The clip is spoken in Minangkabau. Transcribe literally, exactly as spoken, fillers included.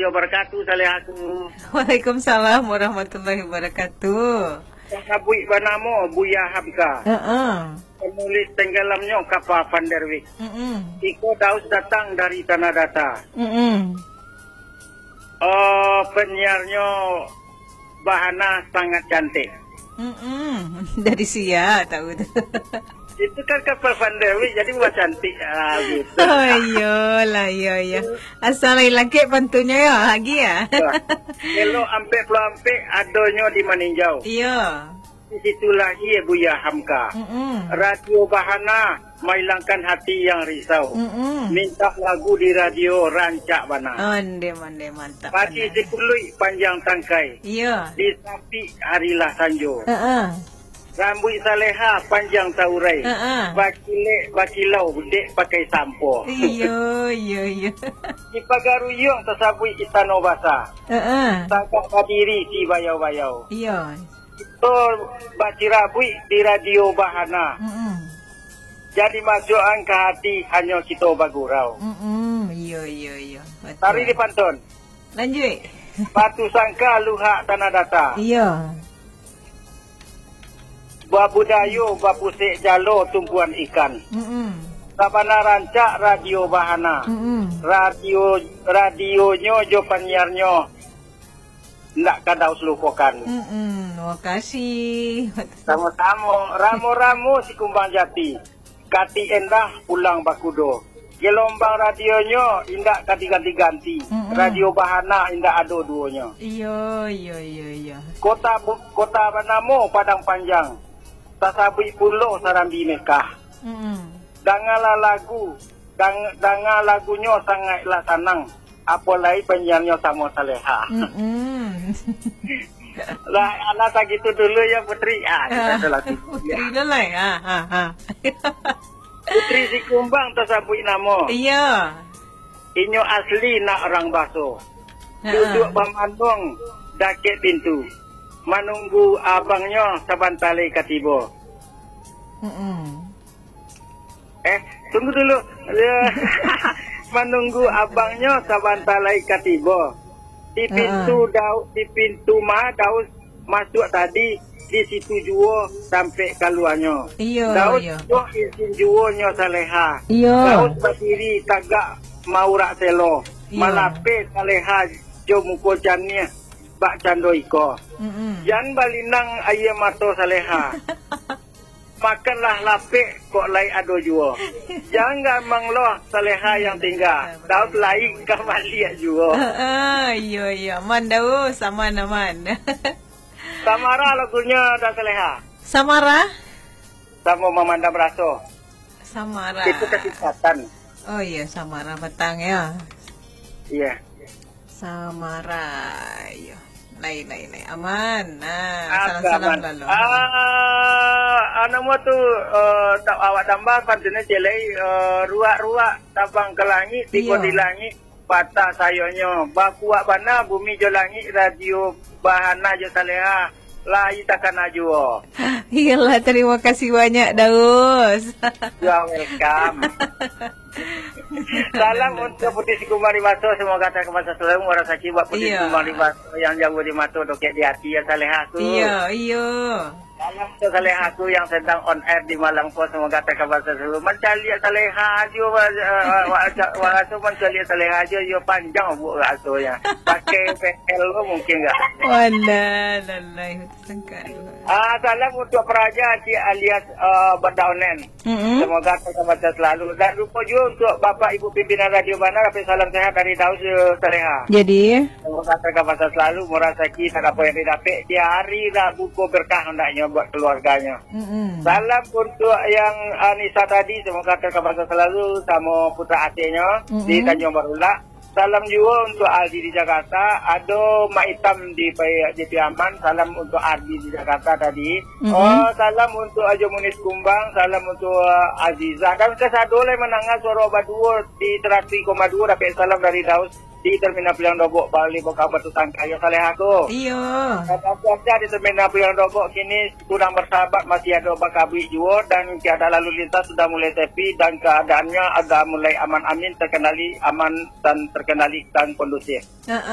Wabarakatuh, Salehaku. Waalaikumsalam warahmatullahi wabarakatuh. Sabuik banamo Buya Hamka. Heeh. Penulis tenggelamnyo kapa Van der Wijk. Mm-mm. Iko Daus datang dari Tanah Data. Mm-mm. Oh, penyiarnyo Bahana sangat cantik. Mm-mm. Dari sia tahu tu? Itu kan kapal Van der Wijk, jadi buah cantik. Ah, gitu. Oh, iyolah, iyo, iyo. Asal lain langkik pantunyo yo, lagi ya. Wah. Elok ampek puluah ampek adonyo di Maninjau. Iyo. Di situ lahia Buya Hamka. Mm-mm. Radio Bahana mailangkan hati yang risau. Mm-mm. Minta lagu di radio rancak bana. Onde, onde, mantap. Pagi bana. Sipuluik panjang tangkai. Iyo. Di sapik harilah sanjo. Heeh. Rambuik Saleha panjang taurai. Heeh. Bakilek bakilau dek pakai sampo. Iyo, iyo, iyo. Di Pagaruyuang tasabuik Istano Basa. Heeh. Tagak badiri si bayau-bayau. Iyo. Kito bacirabuik di Radio Bahana. Mm-mm. Jadi masuakan ka hati hanyo kito bagurau. Mm-mm. Iyo, iyo, iyo. Batua. Tari di pantun. Lanjuik. Batu Sangka luhak Tanah Data. Iyo. Babudayo bapusek jalo tumpuan ikan. Mm-mm. Sabana rancak Radio Bahana. Mm-mm. Radio, radionyo jo panyiarnyo ndak ka Daus lupokan. Mm-mm. Makasih. Samo-samo. Ramo-ramo Sikumbang Jati. Katik endah pulang bakudo. Gelombang radionyo indak ka diganti-ganti. Mm-mm. Radio Bahana indak ado duonyo. Iyo, iyo, iyo, iyo. Kota bu-, kota banamo Padang Panjang. Tasabuik pulo Sarambi Mekah. Mm-mm. Dangalah lagu, dang-, danga lagunyo sangaiklah sanang. Apo lai panyiarnyo samo Saleha. Mm-mm. Lah, alah sagitu dulu ya, Putri. Ah, kita Ah, ada lagu. Putri dulu lah ya. Ha, ha. Putri Sikumbang tasabuik namo. Iya. Inyo asli nak urang Baso. Ha. Duduk bamanuang dakek pintu. Manunggu abangnyo sabanta lai ka tibo. Mm-mm. Eh, tunggu dulu. Manunggu abangnyo sabanta lai ka tibo. Di pintu Heeh. Dau-, di pintu ma Daus masuak tadi, di situ juo sampai kaluanyo. Iyo, Daus iyo. Buek isin juonyo Saleha. Iyo. Daus badiri tagak maurak selo. Iyo. Malapeh Saleha jo muko janiah bak cando iko. Mm-mm. Jan balinang aia mato Saleha. Makanlah lapek, kok lai ado juo. Jan gamang lo Saleha yang tingga. Daus lai ka baliak juo. Heeh, iyo, iyo. Aman, Daus. Aman, aman. Samara lagunyo Daus Saleha. Samara? Samo mamandam raso. Samara. Itu kasih setan. Oh iya, Samara batang ya. Iya. Samara, iyo. Lai, lai, lai. Aman. Nah, Apa salam-salam aman? Lalu. Ah, anu mo tu, eh, ta-, awak tambah pantunyo ciek lai, eh, ruak-ruak tabang ka langik, tibo Iyo. Di langik, patah sayoknyo. Bakuak bana bumi jo langik, radio Bahana jo Saleha. Lai takana juo. Iyolah, terima kasih banyak, Daus. You are welcome. Salam untuk Putri Sikumbang di Baso, semoga terkabasa selalu, murah saki buat Putri Iya. Sikumbang di Baso yang jauh di mato, dokek di hati, ya Saleha tu. Iya, iya. Salam untuk Saleha tu yang sedang on air di malam ko, semoga terkabasa selalu. Mancaliak Saleha aja, wa-, wa-, wa-, wa-, raso mancaliak Saleha aja, yo panjang buat rasanya. Pakai P L tu mungkin enggak? Walah, lalai. Sangka dulu. Ah, salam untuk Praja Cik alias, ah, Benda Onen. Mm-mm. Semoga terkabasa selalu. Dan lupa juga untuk Bapak Ibu pimpinan Radio Bana, dapat salam sehat dari Daus, eh, Saleha. Jadi? Semoga terkabasa selalu, murah rezeki, tak apa yang didapat. Di hari Rabu ko berkah hendaknya buat keluarganya. Mm-mm. Salam untuk yang Anissa tadi, semoga terkabasa selalu sama putra atiknya di Mm-mm. Tanjung Barulak. Salam juo untuk Aldi di Jakarta, ado Mak Itam di Pai-, di Piaman, salam untuk Aldi di Jakarta tadi. Mm-mm. Oh, salam untuk Ajo Munis Kumbang, salam untuk Azizah. Dan kasado lai manangah suaro baduo di seratus koma duo, dapek salam dari Daus di Terminal Piliang Dobok, Bali, Bokah Batu Tangkai, yo Saleha ko. Iyo. Kata cuaca di Terminal Piliang Dobok kini kurang bersahabat, masih ado bakabuik juo dan keadaan lalu lintas sudah mulai sepi dan keadaannya agak mulai aman amin, terkendali aman dan terkendali dan kondusif. Heeh.